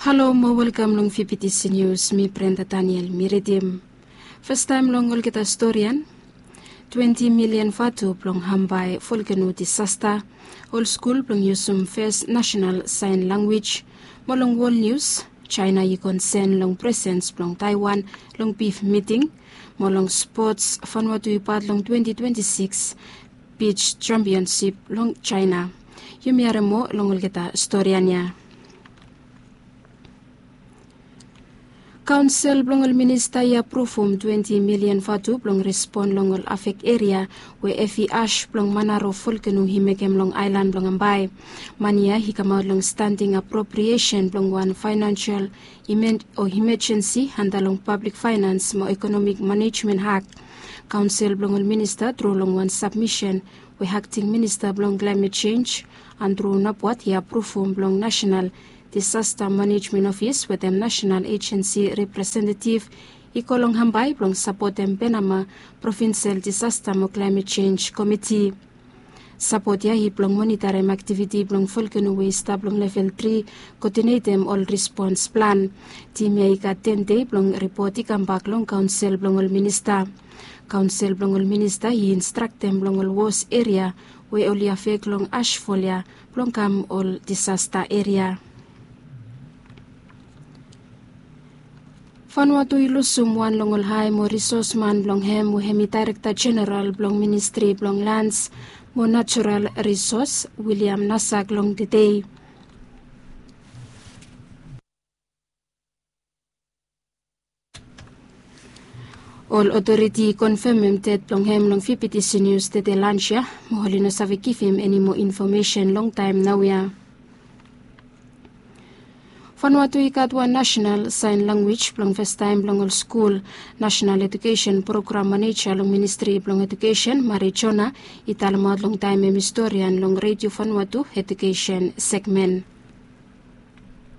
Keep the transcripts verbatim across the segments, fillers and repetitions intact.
Halo mo welkam long fifty nius. Mi Brenda Daniel mi ridim. Fastaem long olgeta storian. Twenti milian vatu blong hambae volkeno disasta. Ol skul blong yusum fes nasenal saen lanwis. Mo long wol nius, Jaena i konsen long presens blong Taewan long bif miting. Mo long spots, Vanuatu i pat long twenti twenti sikis bij jampionsip long Jaena. Yumi harem moa long olgeta storian ya. Kaonsel blong ol minista i apruvum twenti milian vatu blong respon long ol afek eria we evi as blong manaro volkeno i mekem long aelan blong Hambae. Mani ya i kamaot long standing apropriesen blong wan faenansial o imajensi anda long pablik faenans mo ekonomik manejmen hak. Kaonsel blong ol minista tru long wan sabmisen we akting minista blong klaemet jenj, Andru Napuat, i apruvum blong nasenal disasta manejmen ofis wetem nasenal ejensi representetif i go long Hambae blong sapotem Penama provinsel disasta mo klaemet jenj komiti. Sapot ya i blong monitarem aktiviti blong volkeno we i stap long level tri, koodinetem ol respons plan. Tim ya i gat ten dei blong ripot i kambak long kaonsel blong ol minista. Kaonsel blong ol minista i instraktem long ol wos eria we oli afek long asfol ya blong kam ol disasta eria. Vanuatu i lusum wan long ol hae mo risosman blong hem we hem i daerekta jeneral blong ministri blong lans mo natural risos, William Nasak, long tedei. Ol otoriti i konfemem ded blong hem long fifty nius tede lans ya, mo oli no save givim eni moa infomesen long taem naoia. Vanuatu i gat wan nasenal saen lanwis blong fastaem blong ol skul. Nasenal edukesen program maneja long ministri blong edukesen, Mari Jona, i talemaot long taem hem i storian long Redio Vanuatu edukesen segmen.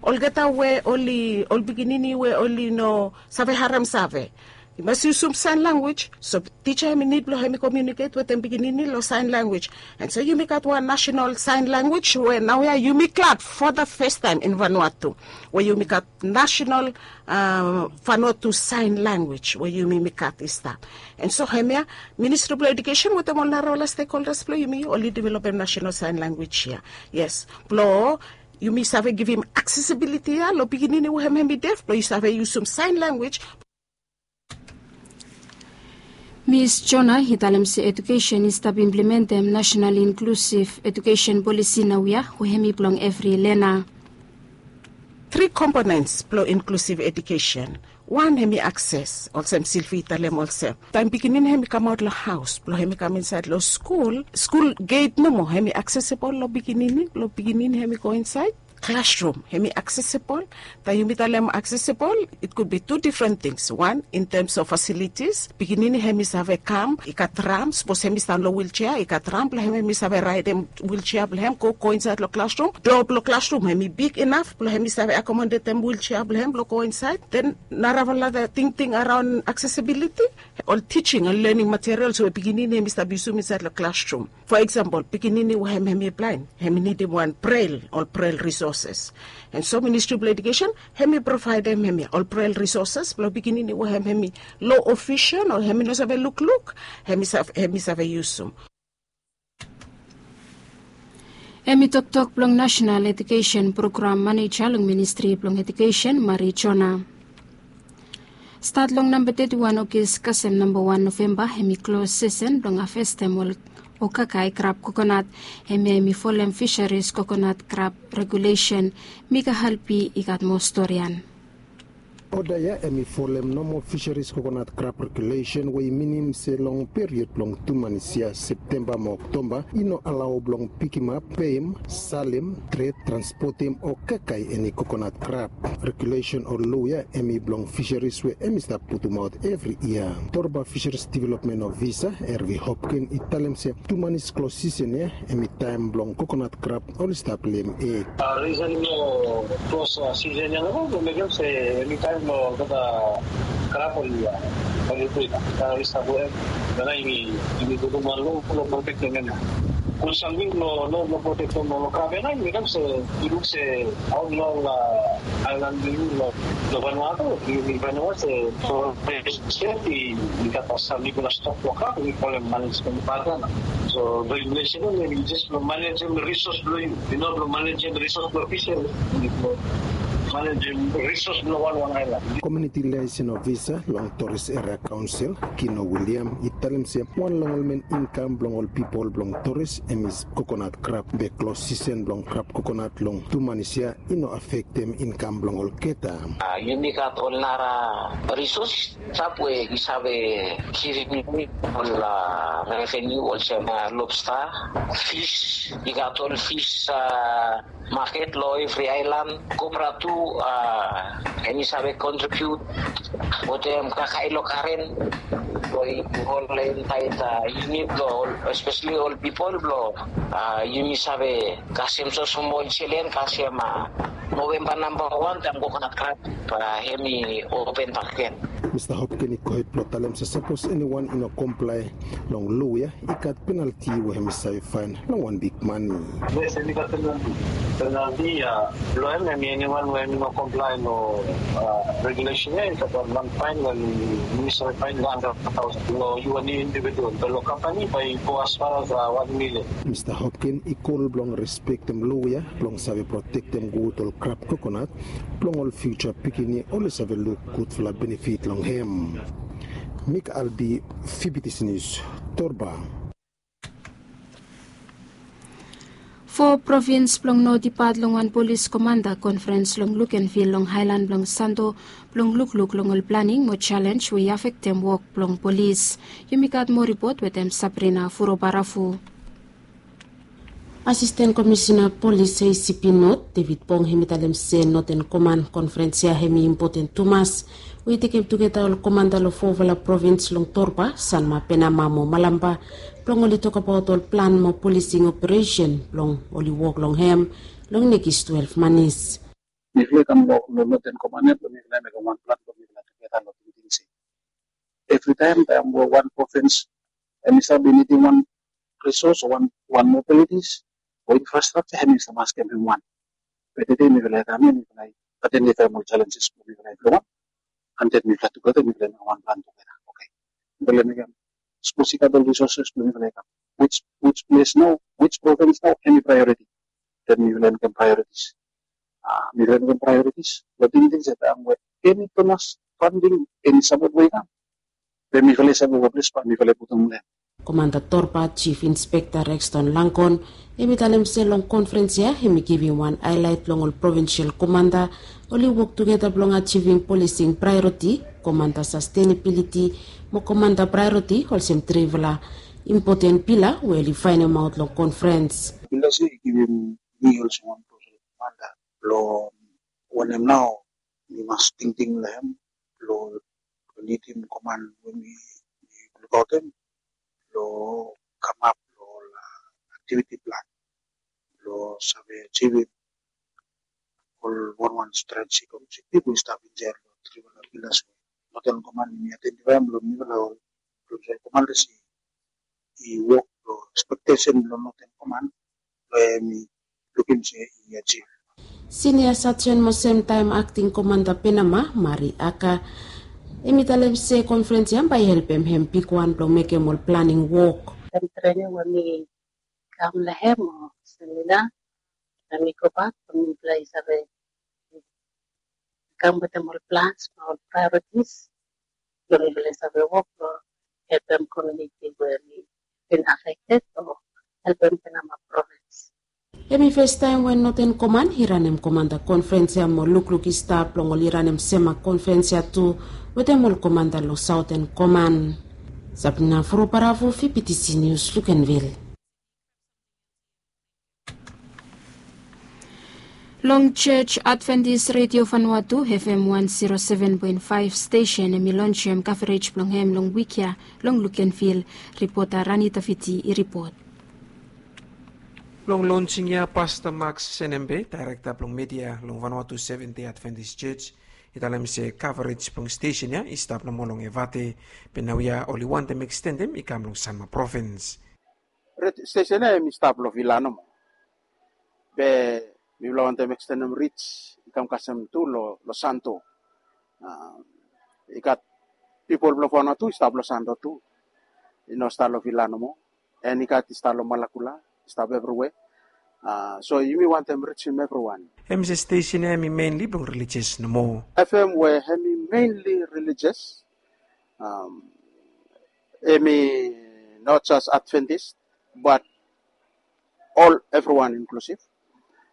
Olgeta we oli ol pikinini we oli no save harem save, i mas yusum saen lanwis. So tija hem i nid blong hem i komiuniket wetem pikinini long saen lanwis. And so yumi gat wan nasenal saen lanwis we naoia yumi gat for the first time in Vanuatu, we yumi gat nasenal Vanuatu saen lanwis we yumi mi gat i stap. And so hemia ministri blong edukesen wetem ol narafala stekholdas blong yumi oli developem nasenal saen lanwis ya. Yes, blong yumi save givim aksesibiliti ya long pikinini we hem hem i def blong i save yusum saen lanwis. Mis Jona i talem se edukesen i stap implementem nasenal inklusiv edukesen polisi naoia we hem i blong evri lena. Tri komponens blong inklusiv edukesen. Wan hem i akses, olsem Silvi i talem olsem, taem pikinini hem i kamaot long haos blong hem i kam insaed long skul, skul geit nomo hem i aksesebol long pikinini blong pikinini hem i go insaed. Klasrum hem i aksesebol. Taem yumi talem aksesebol, it could be tu difren tings. Wan, in tems of fasilitis, pikinini hem i save kam, i gat ram, sapos hem i stap long wiljea, i gat ram blong hem hem i save raedem wiljea blong hem go go insaed long klasrum. Doa blong klasrum hem i big inaf blong hem i save akomodetem wiljea blong hem blong go insaed. Den narafala tingting araon aksesibiliti, ol tijing, ol lening materials we pikinini hem i stap yusum insaed long klasrum. Fo eksampol, pikinini we hem hem i blaen hem i nidim wan brel, ol brel risoses. And so ministri blong edukesen hem i provaedem hemia ol brel risoses blong pikinini we hem hem i lo o visen o hem i no save lukluk, hem i save yusum. Hem i toktok blong nasenal edukesen program maneja long ministri blong edukesen, Mari Jona. Stat long namba teti wan Ogis kasem namba wan Novemba hem i klos sesen blong havestem ol okakae krab kokonat. Hemia hem i folem fisaris kokonat krab regulesen. Mika Halpi i gat moa storian. Oda ya hem i folem nomo fisaris kokonat krab regulesen we i minim se long period blong tu manis ya, Septemba mo Oktoba, i no alao blong pikimap, peim, salem, tret, transpotem o kakae eni kokonat krab. Regulesen o loa ya hem i blong fisaris we hem i stap putumaot evri yia. Torba Fisaris Developmen Ofisa Ervi Hopkin i talem se tu manis klos sisen ya hem i taem blong kokonat krab oli stap lem eg. Risen blong klos sisen ya nomo blong mekem se eni taem blong olgeta krab oli, oli brit, oli stap we em, nana yumi, yumi putum wan lo blong protektem hem ya. Gud samting long, long protektem long krab ya nao, yumi kam se, yu luk se, aot long aelan blong yu long Vanuatu, yumi Vanuatu se, i gat samting blong stap long krab, yumi kolem manejmen pat ya nao. So regulation ya, yu jes blong manejem risos blong yu, yu no blong manejem risos blong fisheries, yu blong manejem risos blong wanwan aelan. Komuniti liaison ofisa long Toris Eria Kaonsel, Kino William, i talem se wan long ol men inkam blong ol pipol blong Toris hem i kokonat krab, be klos sisen blong krab kokonat long tu manis ya i no afektem inkam blong olgeta. Yumi gat ol nara risos stap we i save givim yumi ol reveniu olsem lobsta, fis, i gat ol fis maket long evri aelan, kopra tu, hem i save kontribiut wetem kakae long garen blong i hol insaed yumi blong ol, espeseli ol pipol blong yumi save kasem so smol jelen kasem Novemba namba wan taem kokonat krab hem i open bakegen. Mista Hopkin i gohed blong talem se sapos eniwan i no komplae long lo ya, i gat penalti we hem i save faen long wan big mane. Yes, hem i gat penalti. Penalti ya blong hem, hem i eniwan we hem i no komplae long regulesen ya, i gat wan faen we hem i save faen long handred taosen. Long yu wan individual, be long kampani bae i go as far as wan milian. Mista Hopkin i kol blong respektem lo ya blong save protektem gud ol krab kokonat blong ol fiuja pikinini oli save luk gudfala benefit long hem. Mik Albi, Fibitisi Nius, Torba. Fo provins blong Not i pat long wan polis komanda konferens long Lukenvil long aelan blong Santo blong lukluk long ol planing mo jalenj we i afektem wok blong polis. Yumi gat moa ripot wetem Sabrina Furobarafu. Asisten Komisina Polis A C P Not, David Bong, hem i talem se Noten Koman konferens ya hem i impoten tumas we i tekem tugeta ol komanda long fofala provins long Torba, Sanma, Penama mo Malampa blong oli tokbaot ol plan mo polising operesen blong oli wok long hem long nekis twelef manis. Mifala i kam long Noten Koman ya blong mifala i mekem wan plan blong mifala tugeta long tingting se evritaem taem we wan provins hem i stap nidim wan risos o wan mobilitis o infrastrakja, hem i stap askem hem wan. Be tede mifala i kam ya, mifala i aidentifaem ol jalenjes blong mifala evriwan, and then mifala tugeta mifala i mekem wan plan tugeta. Oke, mifala i mekem sapos i gat ol risoses blong mifala i kam, wij ples nao, wij provins nao hem i praeoriti. Then mifala i mekem praeoritis. Mifala i mekem praeoritis long tingting se taem we eni donas, fanding, eni sapot we i kam, be mifala i save we ples bae mifala i putum long hem. Komanda Torba Jif Inspekta Rexton Langkon hem i talem se long konferens ya hem i givim wan aelaet long ol provinsial komanda oli wok tugeta blong ajivim polising praeoriti, komanda sastenabiliti mo komanda praeoriti olsem trifala impoten pila we oli faenemaot long konferens. Pila ya i givim mi olsem wan provinsial komanda blong wanem nao mi mas tingting long hem blong nidim koman we mi lukaotem blong kamap long ol aktiviti plan blong save ajivim ol wanwan strategik objektif we i stap insaed long trifala pilas we Noten Koman i aidentifaem long mifala ol provinsial komandas i wok long ekspektesen blong Noten Koman we mi lukim se i ajivim. Sinia Sajen mo semtaem akting komanda Penama, Mari Aka, hem i talem se konferens ya bae i helpem hem bigwan blong mekem ol planing wok. Taem trening we mi kam long hem o semina, taem mi gobak, mifala i save kam wetem ol plans mo ol praeoritis blong mifala i save wok blong helpem komuniti we mi bin afekted o helpem Penama provins. Hem i fastaem we Noten Koman i ranem komanda konferens ya mo lukluk i stap long oli ranem sema konferens ya tu wetem ol komanda long Saoten Koman. Sabrina Furobarafu, Fibitisi Nius, Lukenvil. Long Church Adventist Radio Vanuatu, F M one zero seven point five stesen, hem i lonjem kavarej blong hem long wik ya long Lukenvil. Ripota Rani Tafiti i ripot. Long lonjing ya, Pasta Max Senembe, dairekta blong media long Vanuatu Seventh Day Adventist Church, i talem se kavarej blong stesen ya i stap nomo long Evate, be naoia oli wantem ekstendem i kam long Sanma provins. stesen ya em i stap long Vila nomo. Be mifala wantem ekstenem rij i kam kasem tu long Santo. I gat pipol blong Vanuatu i stap long Santo tu. I no stap long Vila nomo. En i gat i stap long Malakula, i stap evriwe. So yumi wantem rijim evriwan. Hem i se stesen ya hem i menli blong relijias nomo. F M we hem i menli relijias. Hem i not jas Adventist, bat ol evriwan inklusif.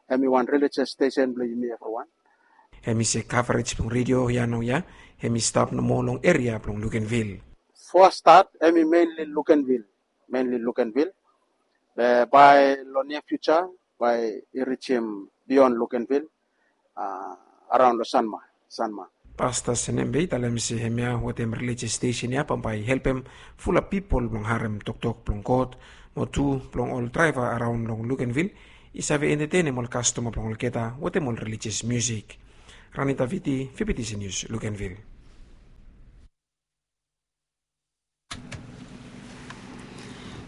Hem i wan relijias stesen blong yumi evriwan. Hem i se kavarej blong redio ya naoia hem i stap nomo long eria blong Lukenvil. Fo stat hem i menli Lukenvil, menli Lukenvil. Be bae long nia fiuja bae i rijim bion Lukenvil, araon long Sanma. Sanma. Pasta Senembe i talem se hemia wetem relijias stesen ya bambae i helpem fulap pipol blong harem toktok blong God, mo tu blong ol draeva araon long Lukenvil i save entetenem ol kastoma blong olgeta wetem ol relijias miusik. Ranita Viti, Fibitisi Nius, Lukenvil.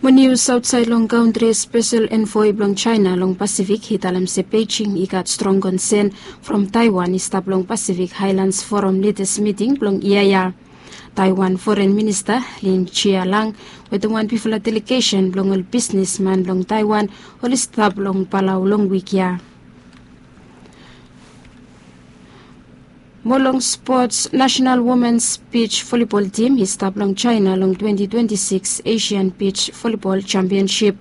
Mo nius aotsaed long kantri, spesel envoi blong Jaena long Pasifik i talem se Beijing i gat strong konsen from Taiwan i stap long Pasifik Haelans Foram lidas miting blong yia ya. Taiwan foren minista Lin Jialang wetem wan bigfala delegesen blong ol bisnesman blong Taiwan oli stap long Palau long wik ya. Mo long spots, nasenal womens bij volibol tim i stap long Jaena long twenti twenti sikis Asian bij volibol jampionsip.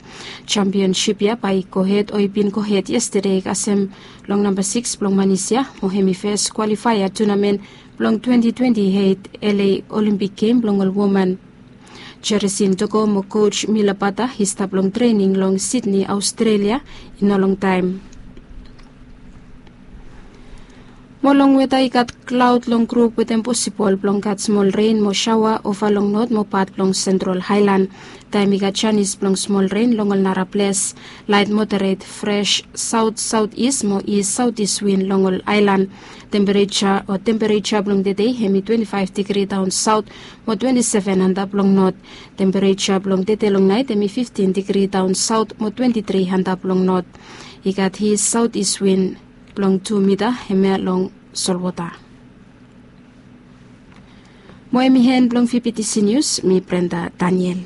Jampionsip ya bae i gohed o i bin gohed yestade kasem long namba sikis blong manis ya, mo hem i fes kwalifaea tunamen blong twenti twenti eit L A Olimpik Gem blong ol woman. Jeresin Toko mo koj Mila Bata i stap long trening long Sidni, Aostrelia i no longtaem. Mo long weta, i gat klaod long grup wetem posibol blong gat smol ren mo saoa ova long not mo pat blong Sentral Haelan. Taem i gat janis blong smol ren long ol nara ples. Laet moderet fres saot saot is mo is saot is win long ol aelan. Tempereja o tempereja blong tede hem i twenti faef digri daon saot mo twenti seven antap long not. Tempereja blong tede long naet hem i fiftin digri daon saot mo twenti tri antap long not. I gat is saot is win blong tu mita hemia long solwota. Mo hem i hen blong Fibitisi Nius, mi Brenda Daniel.